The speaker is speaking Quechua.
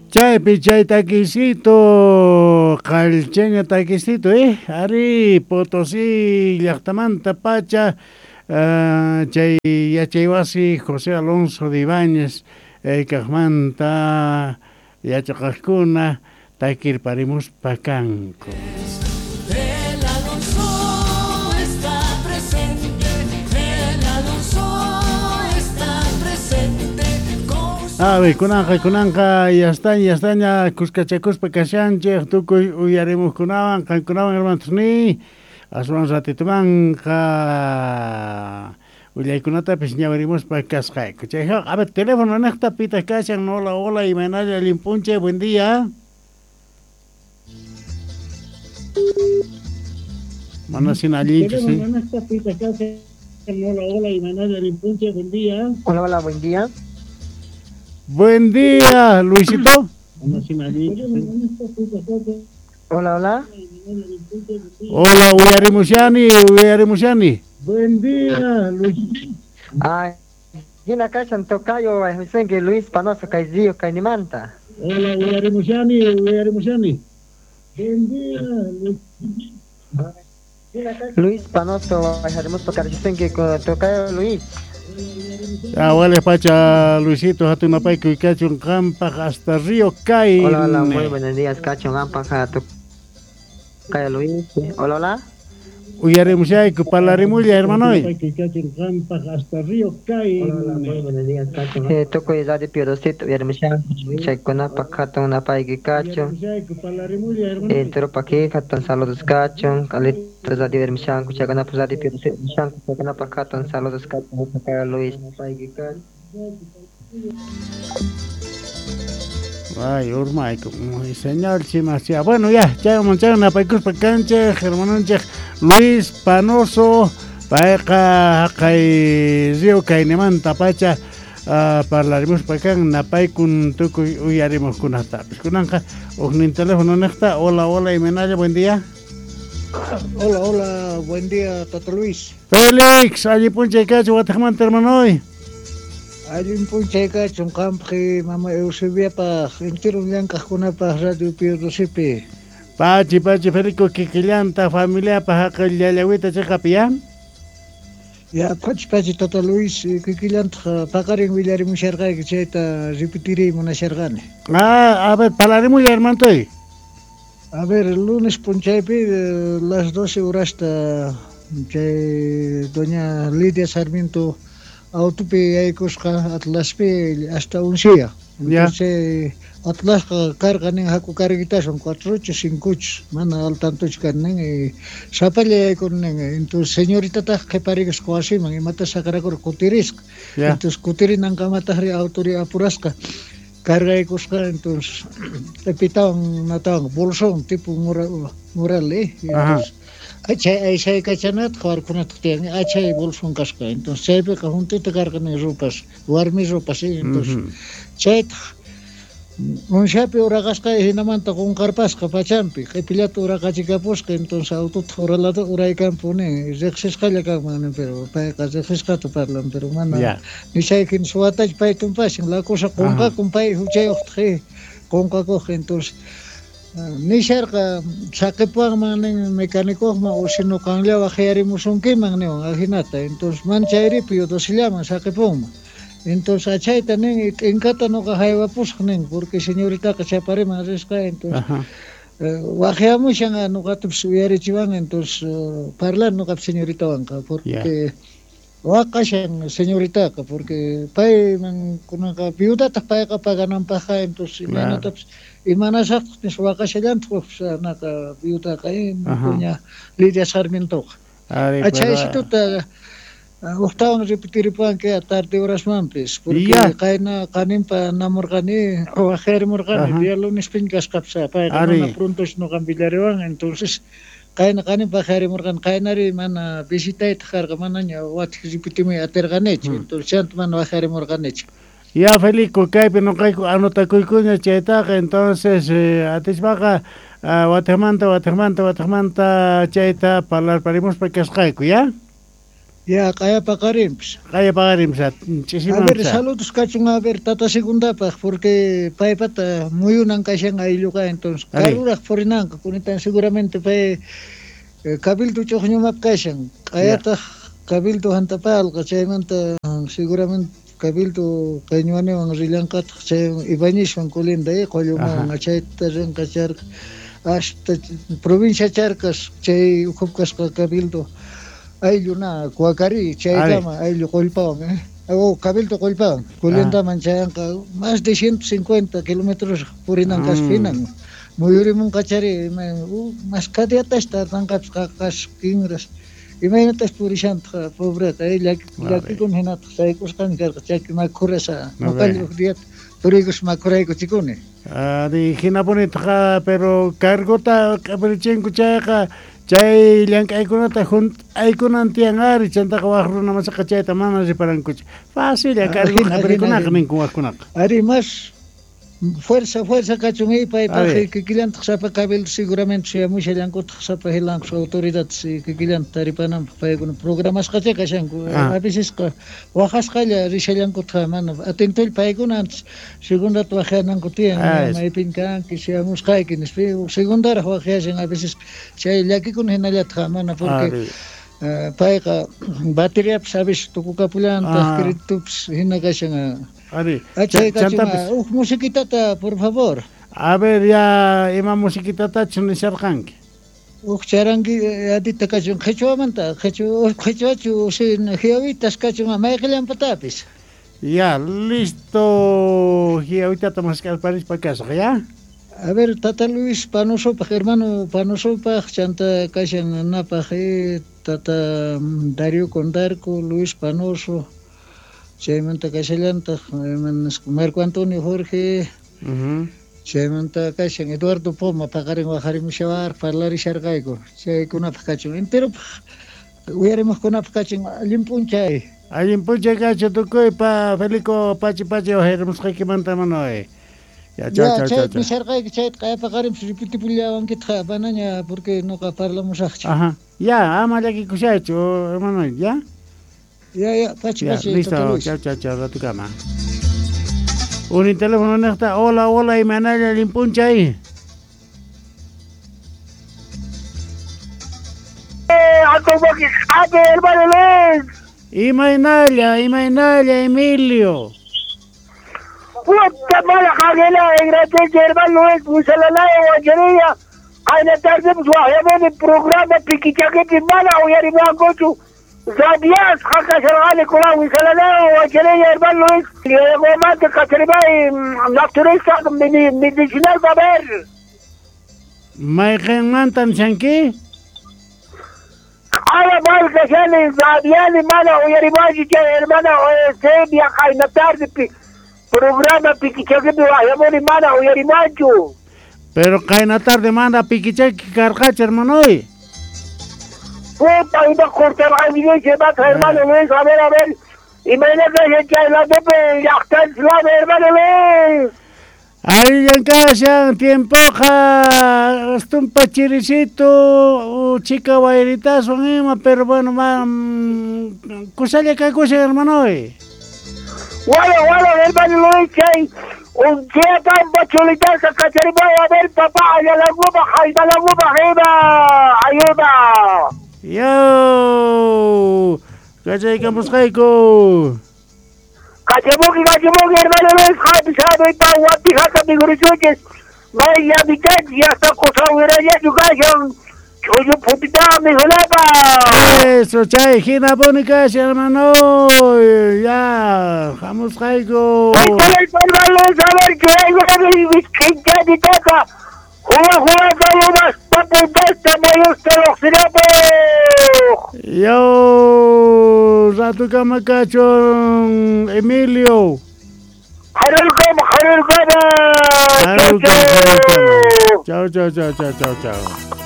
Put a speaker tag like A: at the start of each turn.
A: Chaypi chay takisito, qalchaña takisito, Ari, Potosí llaqtamanta pacha, chay yachaywasi José Alonso de Ibáñez, kaqmanta yachaqaqkuna takirparimuspa kanku.
B: El Alonso está presente, el Alonso está presente.
A: A ver, kunanqa, ya estaña, kuskachakuspa kashanchik, tukuy uyarimuqkunawan, qankunawan hermanos ni, aswan ratitumanqa willaykunatapis ñawirimuspa kasqayku. Chayqa, a ver, teléfono niqta pitaq kashan, hola, hola, imaynalla allin p'unchay, buen día. Mana sina allinchu, sí.
C: Hola, hola, imaynalla allin p'unchay, buen día.
D: Hola, hola, buen día.
A: Buen día, Luisito.
D: Hola, hola.
A: Hola, uyarimushani, uyarimushani.
C: Buen día, Luisito.
D: Ay, hina kashan tocayo, que Luis Panoso Kaizio Kainimanta.
C: Hola, uyarimushani, uyarimushani. Buen día, Luis.
D: Luis Panoso, que tocayo Luis.
A: Ah, wale pacha Luisito, hatun napayku kachun qampaq hasta Río Cay.
D: Hola, hola, muy buenos días, kachun qampaq tocayo Luis. Hola, hola.
A: Uyarimushayku, parlarimulla, hermanoy.
C: Hasta Río Cay.
D: Hola, hola, muy buenos días, kachun. Tukuy radio Piodosito, uyarimushan. Chaykunapaq hatun napayki kachun. Entero paki hatun saludos kachun. Alito radio uyarimushanku, chaykunapaq radio Piodosito, chaykunapaq hatun saludos kachun. Tocayo Luis.
A: Ay, urmayku, señor chimasia. Bueno, ya, chayman chay napaykuspa kanchik, hermanonchik Luis Panoso, payqa haqay Río Caynimanta pacha parlarimuspa kan napaykun tukuy uyarimuqkunatapis. Kunanqa huknin teléfono niqta. Hola, hola, imaynalla, buen día.
C: Hola, hola, buen día, Tata Luis.
A: Félix, allí p'unchay kachun wataqmanta hermanoy.
C: Allin p'unchay kachun qampaq mama Eusebiapaq entero llank'aqkunapaq Radio Piodosipi.
A: Pachi, pachi, Federico, kikillanta familiapaq haqay llallawita chiqapi ya?
C: Ya, pachi, pachi, Tata Luis, kikillantaq paqarin willarimusharqayki chayta repetiriy munasharqani.
A: Ah, a ver, parlarimulla, hermantoy.
C: A ver, el lunes p'unchaypi las 12 horasta chay doña Lidia Sarmiento autopi yaykusqa Atlaspi hasta uncia. Entonces Atlasqa karqa nin haku carguitasun 4 8 5 8 mana al tantochu kan nin y sapalla yaykun nin. Entonces señoritataq qhiparikusqa wasiman imata saqrakur kutirisqa. Entonces kutirinankamataqri autori apurasqa cargaykusqa. Entonces q'ipitawan natawan bolsón tipo mural, entonces achay achay kachanataq warkunataq tiyan achay bolsón kasqa. Entonces chaypiqa juntita karqani ropas, warmi ropas, entonces chaytaq unshapi uraqasqa hinamanta qunqarpasqa pachampi q'ipillata uraqachikapusqa. Entonces autotaq uralata uraykanpuni riqsisqalla kanman nin, pero payqa riqsisqata parlan, pero mana nishaykin suwatachu pay tumpashin la cosa qunqakun pay huchayuqtaq qunqakuq. Entonces nisharqa saqipuwanman nin mecánicoqman o sino qanlla waqyarimusunkiman niwan ajinata. Entonces man chayripi Piodosillaman saqipunman. Entonces achayta nin t'inkata nuqa haywapusaq nin porque señoritaqa chapariman risqa. Entonces waqyamushan nuqatapis uyarichiwan. Entonces parlan nuqapis señoritawanqa porque waqashan señoritaqa porque payman kunanqa viudataq payqa pagananpaqqa. Entonces imaynatapis imanasaqtaq nispa waqashallantaq naqa viudaqa doña Lidia Sarmientoqa. Achaysituta uqtawan repetiripuwanki tarde horasmanpis porque qayna qaninpa namurqani waqyarimurqani día lunespiña kasqapis payqa mana prontochu nuqan villariwan. Entonces qayna qaninpa waqyarimurqani qaynari mana visitaytaq karqa manaña watij repetimuy atirqanichu. Entonces chanta mana waqyarimurqanichu.
A: Ya, Felico, kaypi nuqayku anotakuykuña chaytaqa. Entonces atispaqa wataqmanta chayta parlarparimuspa kasqayku, ya?
C: Ya, qaya paqarinpis.
A: Qaya paqarinpis,
C: A ver, saludos kachun, a ver, tata segundapaq, porque paypata muyunan kashan aylluqa, entonces, karuraq purinanqa, kunitan seguramente pay cabildo ch'uqñumap kashan, q'ayataq cabildo hantapalqa, chaymanta seguramente cabildo qeñuaniwan rillanqataq, chay Ibañezwan colinda, qollumawan, chayta rinqa charqa, hasta provincia Charcas, chay ukhup kasqa cabildo ayllu na Cuacari, chaykama ayllu qollpawan, o cabildo qollpawan, colindaman chayanqa más de 150 kilómetros purinan kasqa hinan, muyurimunqa chari, más kadiatash tardanqapis qaqas kinras, imaynatas purishantaq pobreta, llakikun hinataq saykusqani karqa chaki makhurasa, noqallu huk diata puriykus makhuraykuchikuni.
A: Ari hinapunitaq, pero cargota q'ipirichinko chayqa, chay llank'aykunata hunt'aykunan tiyan ari, chantaqa waq runa masaqa chayta mana riparankuchu. Facilla cargo q'ipirikunaqa ninku waqkunaqa.
C: Ari más fuerza fuerza kachun paypaq kikillantaq sapa cabildo seguramente suyamushallankutaq sapa hilankus autoridades kikillanta taripananpaq paykuna programasqacha kashanku, a vecesqa waqasqalla rishallankutaq mana atentolla paykuna antes segundata waqyananku tiyan, maypin kanki suyamusqayki nispa, segundaraq waqyashan a veces chay llakikuna hinallataq mana porque payqa bateriapis a veces tukukapullantaq, creditopis hina kashan.
A: Ari,
C: chantapis huk musiquitata, por favor.
A: A ver, ya ima musiquitatachu nisharqanki?
C: Huk charangi adita kachun qhichwamanta, qhichwachu hiawitas kachun mayqillanpatapis.
A: Ya, listo, hiawitata mask'arparispa kasaq, ya?
C: A ver, tata Luis Panosopaq, hermano Panosopaq, chanta kashan napaq, tata Darío Condarco, Luis Panoso, chaymanta kashallantaq Marco Antonio Jorge, chaymanta kashan Eduardo Poma, paqarin waqarimushawar, parlarisharqayku, chaykunapaq kachun, enteropaq, uyarimuqkunapaq kachun, allin p'unchay.
A: Allin p'unchay kachun tukuypa, Felico pachi pachi waqarimusqaykimanta manoy.
C: Ya, chao, chao, chao. Nisharqayki chayta qaya paqarinpis repitipullawankitaq manaña porque noqa parlamusaqchu.
A: Ajá. Ya, ama llakikushaychu, hermano, ya.
C: Ya, ya, pachi,
A: ya,
C: pachi.
A: Listo, chao, chao, chao, ratukama. Un teléfono nesta, hola, hola, imanalla allin p'unchay. Imaynalla, imaynalla, Emilio.
E: Puta mala jaguela, gracias hermano Luis, Musalalaya, Guachería. Qayna tarde pues waqyamuni programa pikichakipi mana uyarimankuchu. Zabias hakasharqani kunan Wisalalaya, Guachería, hermano Luis. Llegomante kacharibay naturista medicinal va a ver.
A: Mayqinmantan chanki?
E: Ala mal kashani Zabiani mana uyarimanchu chay hermana Sebia qayna tarde programa pikichakipi waqyamuni mana uyarimanchu.
A: Pero qayna tarde mana pikichaki karqachu, hermanoy.
E: Puta, iba cortarqani vaca, hermano Luis, a ver, a ver. Imaynata chay ladopi llaqtanchis lado, hermano Luis.
A: Allan kashan tiempoqa, astumpa chirisito, chica wayritaswan ima, pero bueno, kusalla kakushan, hermanoy.
E: Wala, wala, hermano Luis, chay un día tan chulitaza kacharibay, a ver, papá, allalankupaq, haytalankupaq, ima, ayuda.
A: Yo, kachaykamusqayku.
E: Kachamuki, kachamuki, hermano Luis, hapi, sabe, pa, guapijata, miguruchuches, may llamitanchis, ya está kusawirallachu kashan, ch'ullu phutita mijunapaq.
A: Eso, chay, hinapuni kashan, hermano, ya, hamusqayku.
E: Hermano Luis, a ver, churaykunami wiskhinchani tata, huwa huwa kalumas papuntasta mayusta lluqsinapuq.
A: Yo, ratukama kachun, Emilio.
E: Harulkama, harulkama.
A: Harulkama, harulkama. Chao, chao, chao, chao, chao, chao.